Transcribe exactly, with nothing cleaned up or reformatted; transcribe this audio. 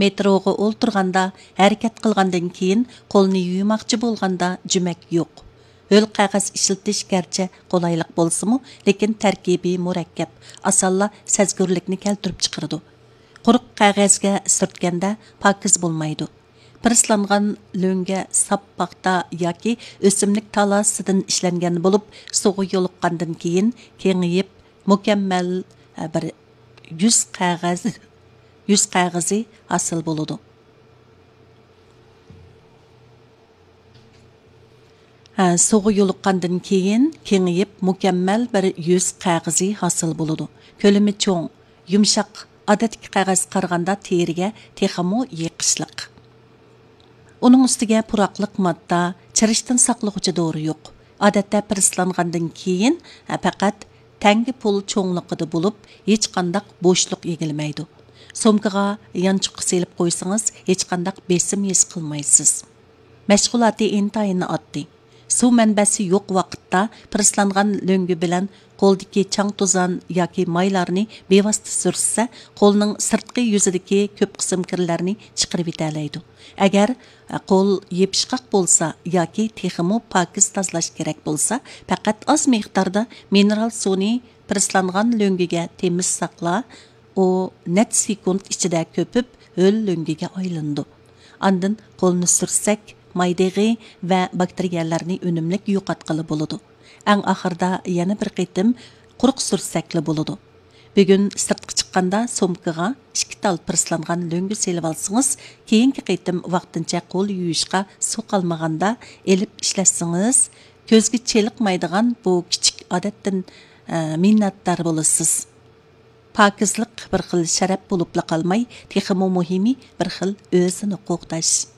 مېتروغا ئولتۇرغاندا، ھەرىكەت قىلغاندىن كېيىن قولنى يۇيماقچى بولغاندا جۈمەك يوق. ھۆل قەغەز ئىشلىتىش گەرچە قولايلىق بولسىمۇ، لېكىن تەركىبى مۇرەككەپ، ئاسانلا سەزگۈرلۈكنى كەلتۈرۈپ چىقىرىدۇ. قۇرۇق قەغەزگە سۈرتكەندە پاكىز بولمايدۇ. پىرسلانغان لۆڭگە ساپ پاختا ياكى ئۆسۈملۈك تالاسىدىن ئىشلەنگەن بولۇپ، سۇغا يولۇققاندىن كېيىن كېڭىيىپ، مۇكەممەل، ئە، بىر يۈز قەغەز، يۈز قەغىزى ھاسىل بولىدۇ. ھە، سۇغا يولۇققاندىن كېيىن كېڭىيىپ، مۇكەممەل بىر يۈز قەغىزى ھاسىل بولىدۇ. كۆلىمى چوڭ، يۇمشاق، ئادەتتىكى قەغەزگە قارىغاندا تېرىگە تېخىمۇ يېقىشلىق. ئۇنىڭ ئۈستىگە پۇراقلىق ماددا، چىرىشتىن ساقلىغۇچى دورا يوق. ئادەتتە پىرسلانغاندىن كېيىن، ھە، پەقەت تەڭگە پۇل چوڭلۇقىدا بولۇپ، ھېچقانداق بوشلۇق ئىگىلىمەيدۇ. سومكىغا يانچۇققا سېلىپ قويسىڭىز، ھېچقانداق بېسىم ھېس قىلمايسىز. مەشغۇلاتى ئىنتايىن ئاددىي. سۇ مەنبەسى يوق ۋاقىتتا پىرسلانغان لۆڭگە بىلەن قولدىكى چاڭ-توزان ياكى مايلارنى بىۋاسىتە سۈرتسە، قولنىڭ سىرتقى يۈزىدىكى كۆپ قىسىم كىرلەرنى چىقىرىۋېتەلەيدۇ. ئەگەر قول يېپىشقاق بولسا ياكى تېخىمۇ پاكىز تازىلاش كېرەك بولسا، پەقەت ئاز مىقداردا مىنېرال سۇنى پىرسلانغان لۆڭگىگە تېمىشساقلا، ئۇ نەچچە سېكۇنت ئىچىدە كۆپۈپ، ھۆل لۆڭگىگە ئايلىنىدۇ. ئاندىن قولنى سۈرتسەك، مايدېغى ۋە باكتېرىيەلەرنى ئۈنۈملۈك يوقاتقىلى بولىدۇ. ئەڭ ئاخىرىدا يەنە بىر قېتىم قۇرۇق سۈرتسەكلا بولىدۇ. بۈگۈن سىرتقا چىققاندا سومكىغا ئىككى تال پىرسلانغان لۆڭگە سېلىۋالسىڭىز، كېيىنكى قېتىم ۋاقتىنچە قول يۇيۇشقا سۇ قالمىغاندا ئېلىپ ئىشلەتسىڭىز، كۆزگە چېلىقمايدىغان بۇ كىچىك ئادەتتىن، ئە، مىننەتدار بولىسىز. پاكىزلىق بىر خىل شەرەپ بولۇپلا قالماي، تېخىمۇ مۇھىمى بىر خىل ئۆزىنى قوغداش.